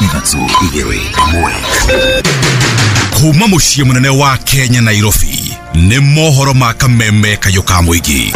3 2 1. Kuma mũciĩ mũnene wa Kenya Nairobi nĩ mohoro ma kameme kayũ ka mũingĩ.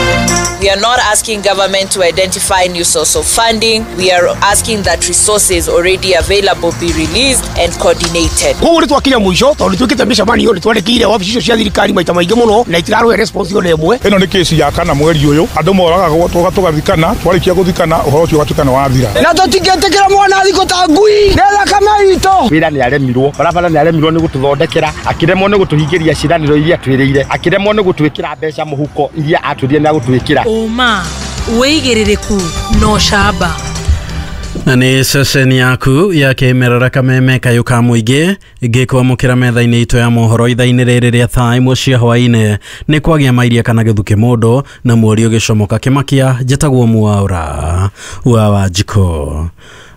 We are not asking government to identify new source of funding. We are asking that resources already available be released and coordinated. Koguo nĩ twakinya mũico tondũ twĩkĩte mĩcemanio nĩ twandĩkĩire wabici icio cia thirikari maita maingĩ mũno na itirarũhe response ona ĩmwe. Ĩno nĩ kesi ya kana mweri ũyũ andũ moragagwo tũgathikana twarĩkia gũthikana ũhoro ũcio ũgatuĩka nĩ wathira. Na tũtingĩtĩkĩra mwana athikwo ta ngui nĩ thakame itũ. Wĩra nĩ aremirwo, barabara nĩ aremirwo nĩ gũtũthondekera, akĩremwo nĩ gũtũhingĩria ciĩranĩro iria twĩrĩire, akĩremwo nĩ gũtwĩkĩra mbeca mũhuko iria atwĩrire nĩ agũtwĩkĩra. Ũma wĩigĩrĩrĩku no camba. Na nĩ ceceni yaku ya kĩmerera kameme kayũ ka mũingĩ ngĩkwamũkĩra metha-inĩ itũ ya mohoro ithaa-inĩ rĩrĩ rĩa thaa 1 cia hwaĩ-inĩ. Nĩ kwagĩa mairia kana gĩthukĩ mũndũ na mweri ũgĩcomoka kĩmakia. Njĩtagwo Mwaura wa Wanjikũ.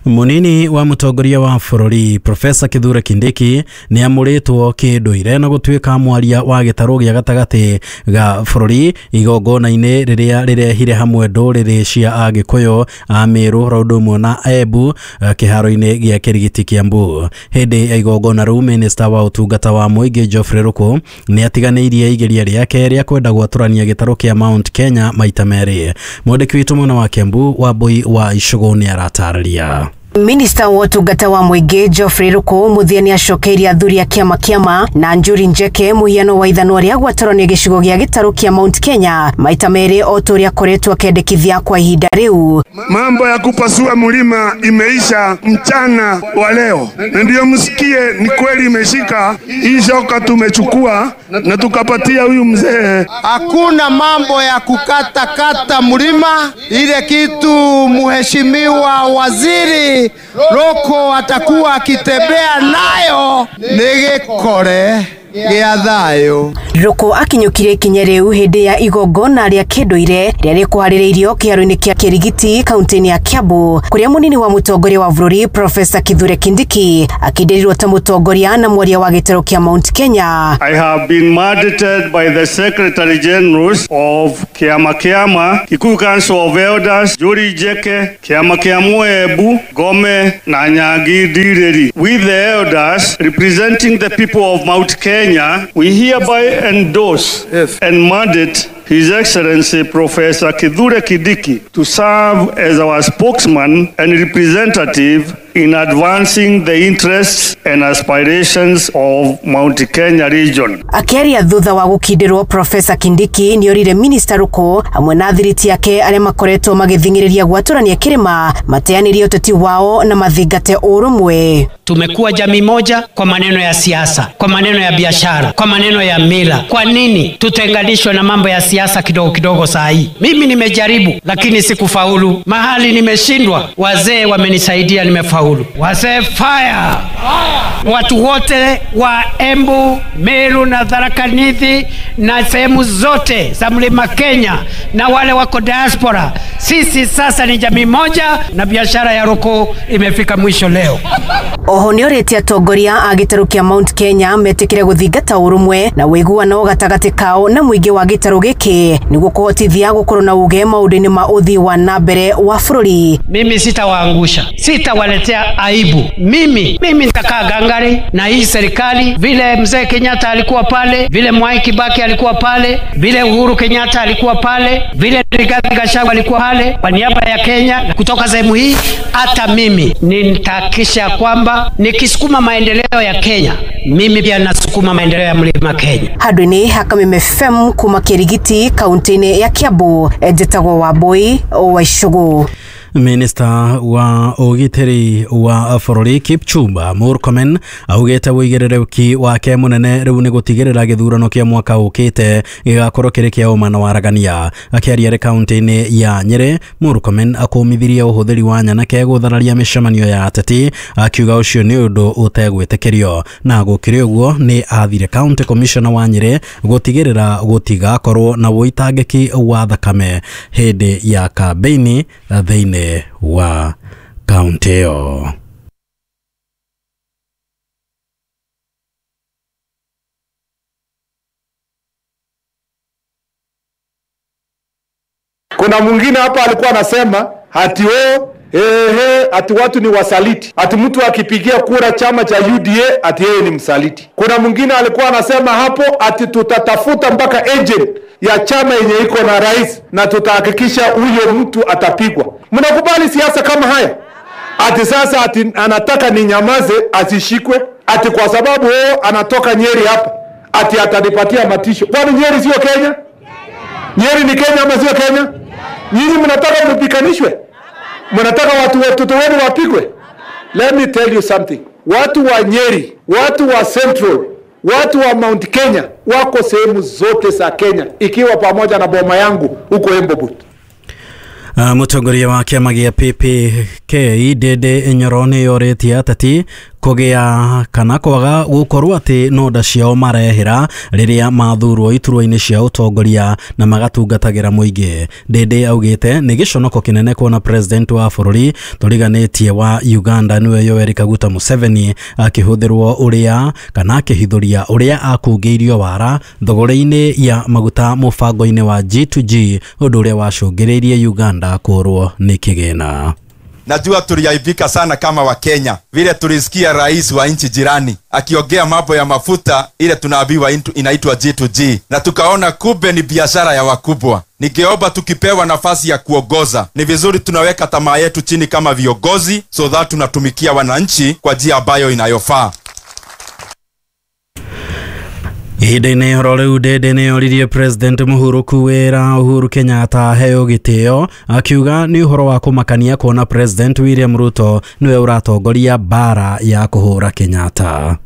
Munini wa mũtongoria wa bũrũri Profesa Kithure Kindiki nĩ amũrĩtwo kĩndũire na gũtuĩka mwaria wa gĩtarũ gĩa gatagatĩ ga bũrũri igongona-inĩ rĩrĩa rĩrehire hamwe ndũrĩrĩ cia Agĩkũyũ, a Meru ro ũndũ ũmwe na Embu kĩharo-inĩ gĩa Kĩrigiti Kĩambu. Hĩndĩ ya igongona rĩu minista wa ũtungata wa mũingĩ Geoffrey Ruku nĩ atiganĩirie igeria rĩake rĩa kwenda gwatũrania gĩtarũ kĩa Mount Kenya maita merĩ. Mwandĩki witũ mwena wa Kĩambu Wambui wa Icũgũ nĩ aratarĩria. Minista wa ũtungata wa mũingĩ Geoffrey Ruku mũthia nĩ acokeirie athuri a kĩama kĩama na Njuri Njeke mũhiano wa ithanwa rĩa gwatũranio gĩcigo gĩa gĩtarũ kĩa Mount Kenya maita merĩ o ta ũrĩa akoretwo akĩendekithia kwa ihinda rĩu. Mambo ya kupasua mlima imeisha mchana wa leo, na ndio msikie ni kweli imeshika. Hii shoka tumechukua na tukapatia huyu mzee. Hakuna mambo ya kukata kata mlima, ile kitu mheshimiwa waziri Ruku atakuwa akitembea nayo nĩ gĩkore gĩa thayũ. Ruku akinyũkirie ikinya rĩu hĩndĩ ya igongona rĩa kĩndũire rĩrĩa rĩkũharĩrĩirio kĩharo-inĩ kĩa Kĩrigiti kaunti-inĩ ya Kiambu kũrĩa mũnini wa mũtongoria wa bũrũri Profesa Kithure Kindiki akĩndĩrirwo ta mũtongoria na mwaria wa gĩtarũ kĩa Mount Kenya. I have been mandated by the Secretary Generals of Kiama Kiama, Kikuyu Council of Elders, Njuri Njeke, Kiama Kia Embu, Gome na Nyangi Ndiriri. With the elders representing the people of Mount Kenya, we hereby endorse and mandate His Excellency Professor Kithure Kindiki to serve as our spokesman and representative in advancing the interests and aspirations of Mount Kenya region. Akĩaria thutha wa gũkindĩrwo Profesa Kindiki nĩorire Minista Ruku hamwe na athiriti ake arĩa makoretwo magĩthing'ĩrĩria gwatũrania kĩrĩma mateanĩrie ũteti wao na mathingate ũrũmwe. Tumekuwa jamii moja kwa maneno ya siasa, kwa maneno ya biashara, kwa maneno ya mila. Kwa nini tutenganishwe na mambo ya siasa kidogo kidogo saa hii? Mimi nimejaribu lakini sikufaulu. Mahali nimeshindwa, wazee wamenisaidia, nimefaulu. Wazee fire! Watu wote wa Embu, Meru na Tharaka Nithi na sehemu zote za Mlima Kenya na wale wako diaspora, sisi sasa ni jamii moja na biashara ya Ruku imefika mwisho leo. Oho nĩorĩtie atongoria a gĩtarũ kĩa Mount Kenya metĩkĩre gũthingata ũrũmwe na ũiguano gatagatĩ kao na mũingĩ wa gĩtarũ gĩkĩ nĩguo kũhotithia gũkorwo na uge maũndũ-inĩ ma ũthii wa na mbere wa bũrũri. Mimi sitawaangusha, sitawaletea aibu. Mimi nitakaa gangari na hii serikali, vile mzee Kenyatta alikuwa pale, vile Mwai Kibaki alikuwa pale, vile Uhuru Kenyatta alikuwa pale, vile Rigathi Gachagua alikuwa pale kwa niaba ya Kenya kutoka sehemu hii. Hata mimi nitahakikisha kwamba nikisukuma maendeleo ya Kenya, mimi pia nasukuma maendeleo ya Mlima Kenya. Handũ-inĩ ha Kameme FM kuma Kĩrigiti kaunti-inĩ ya Kiambu, njĩtagwo Wambui wa Icũgũ. Minista wa ũgitĩri wa bũrũri Kipchumba Murkomen augĩte ũigĩrĩrĩki wake mũnene rĩu nĩ gũtigĩrĩra gĩthurano kĩa mwaka ũkĩte gĩgakorwo kĩrĩ kĩa ũma na waragania. Akĩaria arĩ kaunti-inĩ ya Nyĩrĩ, Murkomen akũmithirie ũhũthĩri wa nyanake gũthararia mĩcemanio ya ateti, akiuga ũcio nĩ ũndũ ũtegwĩtĩkĩrio. Na gũkĩrĩ ũguo nĩ athire county commissioner wa Nyĩrĩ gũtigĩrĩra gũtigakorwo na ũitangĩki wa thakame hĩndĩ ya kambeini thĩinĩ wa kaunti ĩyo. Kuna mwingine hapa alikuwa anasema hati Ehe, ati watu ni wasaliti, ati mtu akipigia kura chama cha UDA ati yeye ni msaliti. Kuna mwingine alikuwa anasema hapo ati tutatafuta mpaka agent ya chama yenye iko na rais na tutahakikisha huyo mtu atapigwa. Mnakubali siasa kama haya? Ati sasa ati anataka ninyamaze asishikwe, ati kwa sababu yeye anatoka Nyeri hapa, ati atanipatia matisho. Kwani Nyeri sio Kenya? Nyeri ni Kenya ama sio Kenya? Nyinyi mnataka mpikanishwe? Mnataka watu watoto wenu wapigwe? Let me tell you something. Watu wa Nyeri, watu wa Central, watu wa Mount Kenya wako sehemu zote za Kenya, ikiwa pamoja na boma yangu huko Embobut. Mũtongoria wa kĩama gĩa PPK Ndindi Nyoro nĩyorĩtie ateti kũgĩa kana kwaga gũkorwo atĩ nonda ciao marehera rĩrĩa mathurwo iturwa-inĩ cia ũtongoria na magatungatagĩra mũingĩ. Ndindi augĩte nĩ gĩconoko kĩnene kuona president wa bũrũri tũriganĩtie wa Uganda nĩwe Yoweri Kaguta Museveni akĩhũthĩrwo ũrĩa kana akĩhithũria ũrĩa akungĩirio wara thogora-inĩ ya maguta mũbango-inĩ wa G2G ũndũ ũrĩa wacũngĩrĩirie Uganda kũrwo nĩ kĩgĩna. Najua tuliaibika sana kama wa Kenya vile tulisikia rais wa nchi jirani akiongea mambo ya mafuta ile tunaambiwa inaitwa G2G, na tukaona kumbe ni biashara ya wakubwa. Ningeomba tukipewa nafasi ya kuongoza, ni vizuri tunaweka tamaa yetu chini kama viongozi, so that tunatumikia wananchi kwa njia ambayo inayofaa. Ihinda-inĩ oro rĩu Ndindi nĩoririe President Mũhuru wĩra Uhuru Kenyatta aheo gĩtĩo, akiuga nĩ ũhoro wa kũmakania kuona President William Ruto nĩwe ũratongoria bara ya kũhũra Kenyatta.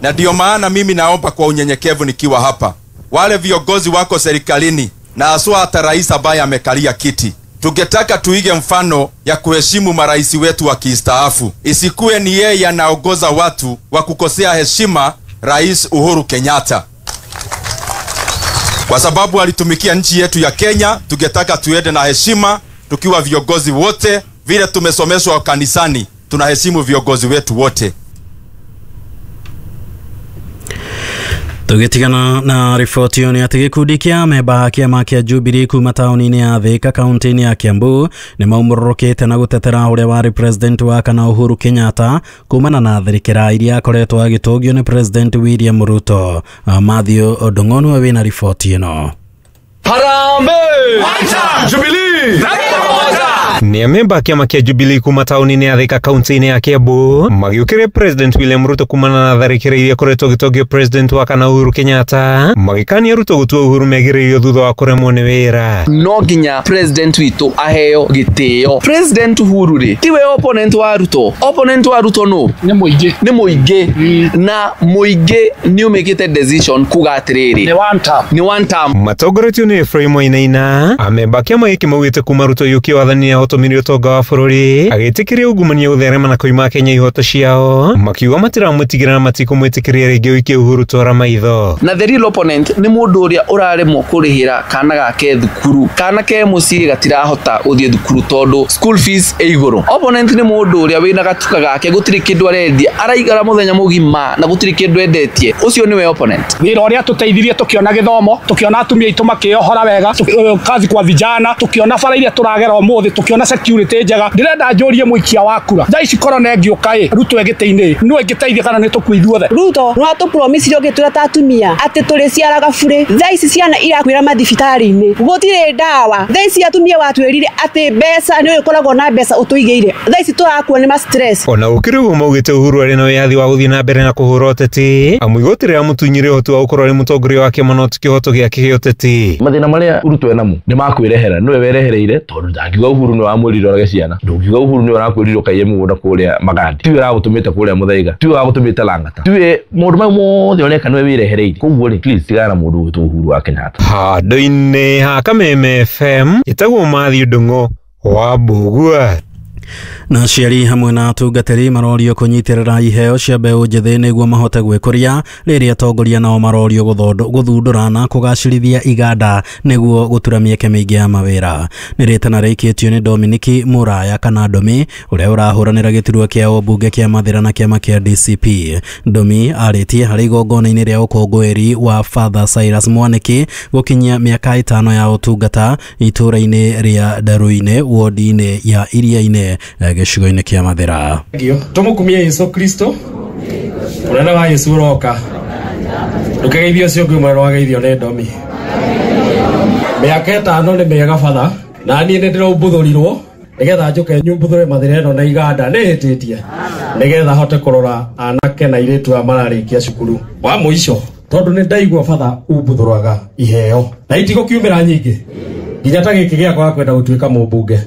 Na ndio maana mimi naomba kwa unyenyekevu nikiwa hapa, wale viongozi wako serikalini na haswa hata rais ambaye amekalia kiti, tungetaka tuige mfano ya kuheshimu marais wetu wa kistaafu. Isikuwe ni yeye anaongoza watu wa kukosea heshima Rais Uhuru Kenyatta, kwa sababu alitumikia nchi yetu ya Kenya. Tungetaka tuende na heshima tukiwa viongozi wote, vile tumesomeshwa kanisani, tunaheshimu viongozi wetu wote. Tũgĩtigana na riboti ĩyo nĩ atĩ gĩkundi kĩa amemba a kĩama kĩa Jubilee kuma taũni-inĩ ya Thika kaunti-inĩ ya Kiambu nĩ maumũrũrũkĩte na gũtetera ũrĩa warĩ president wa kana Uhuru Kenyatta kumana na tharĩkĩra iria akoretwo agĩtũngio nĩ President William Ruto. Matthew Ndung'u nĩwe wĩna riboti ĩno. Harambee! Jubilee! Ni amemba a kĩama kĩa Jubilee kuma taũni-inĩ ya Thika kaunti-inĩ ya Kiambu magĩũkĩrĩria President William Ruto kumana na tharĩkĩra iria akoretwo agĩtongio President wa kana Uhuru Kenyatta, magĩkania Ruto gũtua Uhuru megĩrĩirio thutha wa kũremwo nĩ wĩra. No nginya President witũ aheo gĩtĩo. President Uhuru rĩ tiwe opponent wa Ruto. Opponent wa Ruto no nĩ mũingĩ, nĩ mũingĩ, na mũingĩ nĩ ũmĩkĩte decision kuga atĩrĩrĩ nĩ one term, nĩ one term. Matongoretio nĩ Ephraim Wainaina, amemba a kĩama gĩkĩ maugĩte kuma Ruto yũkie wathani ahotomire ũtonga wa bũrũri agĩtĩkĩria ungumania gũtherema na kũima Kenya ihoto ciao, makiuga matiramwĩtigĩra na matikũmwĩtĩkĩria rĩngĩ ũikie Uhuru twara maitho. Na the real opponent nĩ mũndũ ũrĩa ũraremwo kũrĩhĩra kana gake thukuru, kana ke mũciĩ gatirahota gũthiĩ thukuru tondũ school fees ĩ igũrũ. Opponent nĩ mũndũ ũrĩa wĩna gatuka gake gũtirĩ kĩndũ arendia, araigara mũthenya mũgima na gũtirĩ kĩndũ endetie, ũcio nĩwe opponent. Wĩra ũrĩa tũteithirie tũkĩona gĩthomo, tũkĩona atumia aitũ makĩohora wega, kazi kwa vijana, tũkĩona bara iria tũragera ũmũthĩ, tukiona security njega. Ndirenda njũrie mũikia wa kura thaa ici korona ĩngĩũka ĩ Ruto ĩgĩtĩ-inĩ nũ ĩngĩteithia kana nĩ tũkue ithuothe? Ruto nĩ watũpromisire ũgĩtwĩra ta atumia atĩ tũrĩciaraga burĩ. Thaa ici ciana irakuĩra mathibitarĩ-inĩ, gũtirĩ ndawa. Thaa ici atumia watwĩrire atĩ mbeca nĩ ũkoragwo na mbeca ũtũigĩire, thaa ici tũrakua nĩ ma stress. Ona gũkĩrĩ ũguo maugĩte Uhuru arĩ na wĩyathi wa gũthiĩ na mbere na kũhũra ũteti, amu igoti rĩramũtunyire ũhoti wa gũkorwo arĩ mũtongoria wa kĩama no ti kĩhoto gĩake gĩa ũteti. Mathĩna marĩa Ruto enamo nĩ makwĩrehera, nĩwe werehereire, tondũ ndangiuga Uhuru nĩwe wamwĩrire orage ciana, ndũngiuga Uhuru nĩwe ũrakwĩrire ũkaiye mũgũnda kũrĩa Magadi, tiwe ũragũtũmĩte kũrĩa Muthaiga, tiwe wagũtũmĩte Lang'ata, tiwe maũndũ mau mothe ũreka nĩwe wĩrehereire. Koguo rĩ, please tigana na mũndũ ũgwĩtwo Uhuru wa Kenyatta. Handũ-inĩ ha Kameme FM ĩtagwo Matthew Ndung'u wa Mbugua. Na aciari hamwe na atungatĩri marorio kũnyitĩrĩra iheo cia mbeũ njĩthĩ nĩguo mahote gwĩkũria, rĩrĩa atongoria nao marorio gũthundũra na kũgacĩrithia iganda nĩguo gũtura mĩeke mĩingĩ ya mawĩra. Nĩ rĩtana rĩikĩtio nĩ Dominiki Mũraya kana Domi ũrĩa ũrahũranĩra gĩturwa kĩa ũmbunge kĩa Mathĩra na kĩama kĩa DCP. Domi arĩtie harĩ igongona-inĩ rĩa ũkũngũĩri wa Father Cyrus Mwaniki gũkinyia mĩaka 5 ya ũtungata itũũra-inĩ rĩa Ndaruinĩ wodi-inĩ ya Iriainĩ. gĩcigo-inĩ kĩa Mathĩra. Tũmũkumie Yesu Kristo mũnene wa Yesu ũroka ndũkegeithio ũcio ũngĩ ũmwe wageithio nĩ ndomi. Mĩaka 5 nĩ mĩega batha na niĩ nĩ ndĩraumbuthũrirwo nĩgetha njũke nyumbuthũre Mathĩra ĩno na iganda nĩ hĩtĩtie nĩgetha hote kũrora anake na airĩtu aya mararĩkia cukuru wa mũico tondũ nĩ ndaigua batha umbuthũraga iheo na itigũkiumĩra nyingĩ nginya ta gĩkĩ gĩakwa kwenda gũtuĩka mũmbunge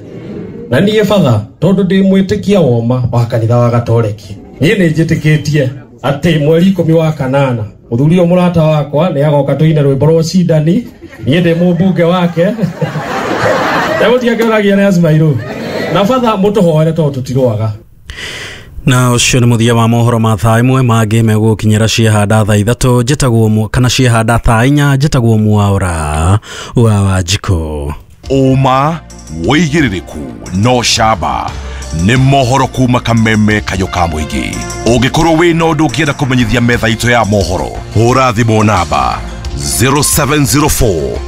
na niĩ batha tondũ ndĩ mwĩtĩkia woma wa kanitha wa Gatoreki niĩ nĩ njĩtĩkĩtie atĩ mweri 10 wa kanana mũthuri ũyũ mũrata wakwa nĩ agoka tũine rwĩmbo rwa ũcindani niĩ ndĩ mũmbunge wake ndemũtiakĩũragia nĩ Acimairũ na batha mũtũhoere tondũ tũtirũaga. Na ũcio nĩ mũthia wa mohoro ma thaa 1 mangĩ megũkinyĩra ciehanda thaa 3 njĩtagwo kana ciehanda thaa 4 njĩtagwo Mwaura wa Wanjikũ. Ũma wĩigĩrĩrĩku no camba nĩ mohoro kuma Kameme kayũ ka mũingĩ. Ũngĩkorwo wĩna ũndũ ũngĩenda kũmenyithia metha itũ ya mohoro, hũra thimũ namba 0704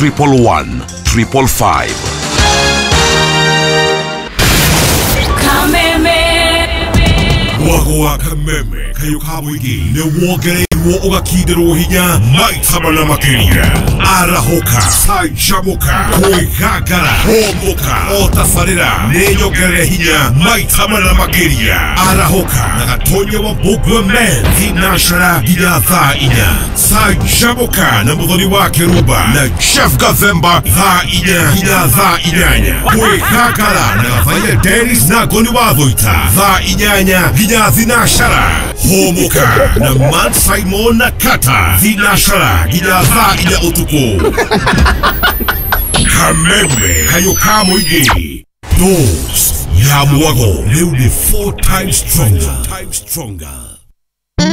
111 555. Mwago wa Kameme kayũ ka mũingĩ nĩ wongereirwo ũgakindĩrwo hinya maita mana makĩria. Arahũka, canjamũka, kwĩgangara, hũmũka, o tabarĩra nĩ nyongerere hinya maita mana makĩria. Arahũka na Gatonya wa Mbũgua Men thinacera nginya thaa 4. Canjamũka na Mũthoni wa Kĩrumba na Jeff Gathemba thaa 4 nginya thaa 8. Kwĩgangara na Gathaiya Dennis na Ngoni wa Thũita thaa 8 nginya thinacera. Hũmũka na Man Simon na Kata thinacera nginya thaa 4 ũtukũ. Kameme kayũ ka mũingĩ. Dose ya mwago rĩu nĩ 4 times stronger.